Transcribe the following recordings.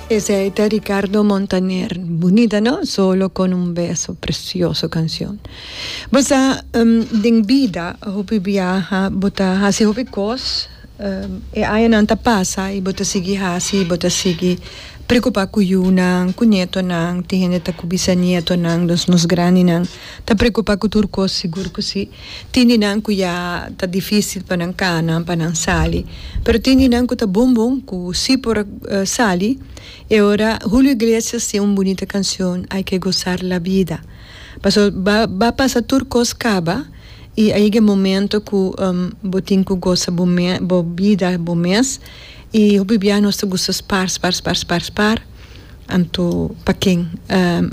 Esey ta Ricardo Montaner. Bunita no? Solo con un beso. Precioso cancion. Bo sa den bida hopi biaha bo ta haci hopi cos. E añanan ta pasa y bo ta sigui haci, bo ta sigui preocupa cu yunan, cu nietonan, tin hende ta cu bisanietonan, dus nos grandinan ta preocupa cu tur cos, sigur cu si. Tin di nan cu ya ta dificil pa nan cana, pa nan sali, pero tin di nan cu ta bon bon, cu si por sali. E ora Julio Iglesias tin un bunita cancion, Hay que gozar la vida. Pasobra ba pasa tur cos caba. I a yega e momento ku bo tin ku gosa bo me bo bida bo mes i hopi bia nos ta gusta spar spar spar spar spar anto pa ken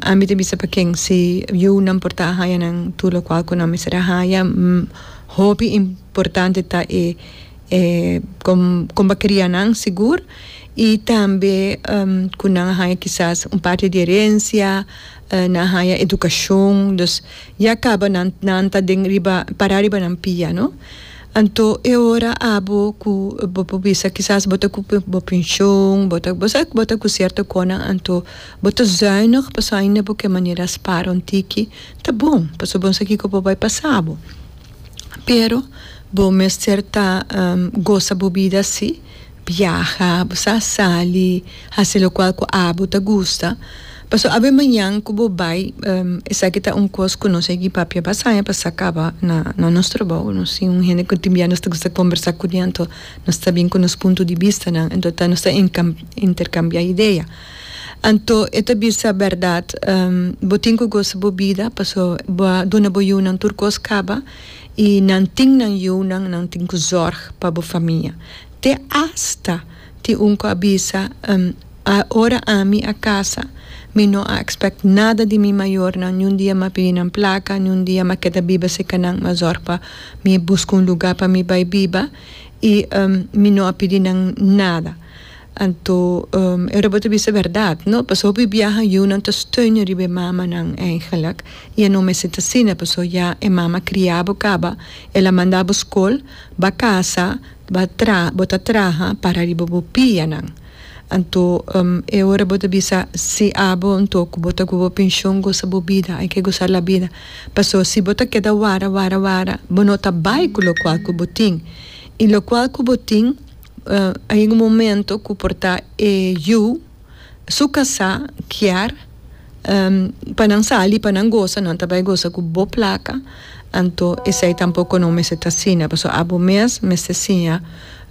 ami ta bisa pa ken si yunan por ta haña nan tur lokual ku nan mester a haña hopi importante ta e e kon kon bo a kria nan sigur i tambe ku nan a haña kisas un parti di herensia nan a haña edukashon dus Ya caba nan nan ta den riba para riba nan pia no. Anto e ora abo cu bo por bisa kisas bo ta cu bo pension bo ta bo sa bo ta cu cierto conan anto bo ta zuinig pasobra ainda bo ke manera spara un tiki ta bon pasobra bo no sa kico por bay pasa bo. Pero bo mester ta gosa bo bida si. Biaha, bo sa sali, hasi lokual ku abo ta gusta. Pasobra awe mañan ku bo bai, esaki ta un kos ku nos a yegi papia basta aña pasá kaba na na nos trabou. Nos tin un hende ku tin bia nos ta gusta kombersá kuné, anto nos ta bin ku nos punto di bistanan, anto ta nos ta interkambiá idea. Anto e ta bisa bèrdat, bo tin ku gosa bo bida pasobra bo a duna bo yunan tur kos kaba i nan tin nan yunan, nan tin ku zòrg pa bo famia. Te asta tin un ku a bisa, Ora ami a kasa, mi no a expect nada di mi mayornan, niun dia m'a pidi nan plaka, niun dia m'a keda biba serka nan, m'a zòrg pa mi buska un lugá pa mi bai biba i mi no a pidi nan nada. Anto e ora bo ta bisa bèrdat, no? Pasobra hopi biaha yunan ta steun riba e mamanan eigenlijk i e no mester ta asina, pasobra ya e mama a kria bo kaba, el a manda bo skol, Ba casa, ba tra, bo ta traha para riba bo pianan. Anto e ora bo ta bisa si abo anto cu bo ta cu bo pension gosa bo bida, hay que gozar la vida. Paso si bo ta keda wara wara wara bo no ta bay cu locual cu bo tin. Y locual cu bo tin a yega un momento cu por ta e yu. Su kasá kier pa nan sali, pa nan gosa, nan ta bai gosa ku bo plaka, anto esei tampoko no mester ta asina, pasobra abo mes mester siña,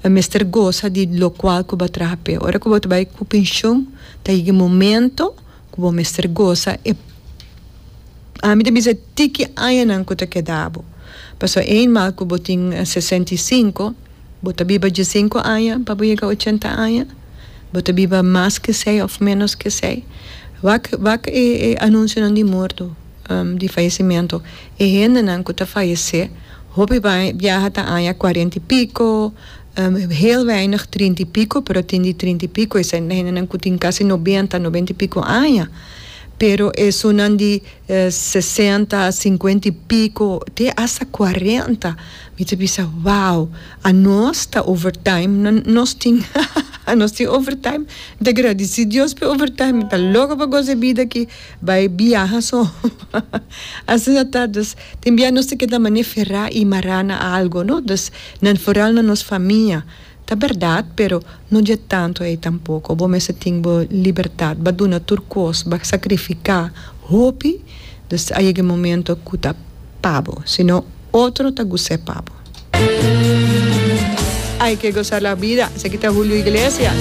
mester gosa di lokual ku bo a traha p'e. Ora ku bo ta bai ku penshun, ta yega e momento ku bo mester gosa e, ami ta bisa tiki añanan ku ta keda bo, pasobra eenmaal ku bo tin 65. Bo ta biba diesinku aña pa bo yega ochenta aña? Bo ta biba mas ke esei òf ménos ke esei? Wak wak e e anunsionan di morto, di fayesimentu. E hendenan ku ta fayesé hopi biaha ta aña kuarenta i piko, heel weinig trinta i piko, pero tin di trinta i piko esei ta hendenan ku tin kasi nobenta, nobenta i piko aña. Pero esunnan di sesenta, sinkuenta i piko, te asta kuarenta. Mi ta bisa wow, anos ta overtime, nos tin nos tin overtime, mi ta gradisi Dios pa e overtime, mi ta loko pa gosa e bida aki, bai biaha so, asina ta, dus tin bia nos ta keda mane ferá i mará na algo no, dus nan foral na nos famia, ta bèrdat pero no dje tantu ei tampoko, bo mester tin bo libertat, bo a duna tur kos, bo a sakrifiká hopi, dus a yega e momento ku ta pa bo, sino. Otro ta gus'é pa bo. Hay que gozar la vida, esaki ta Julio Iglesias.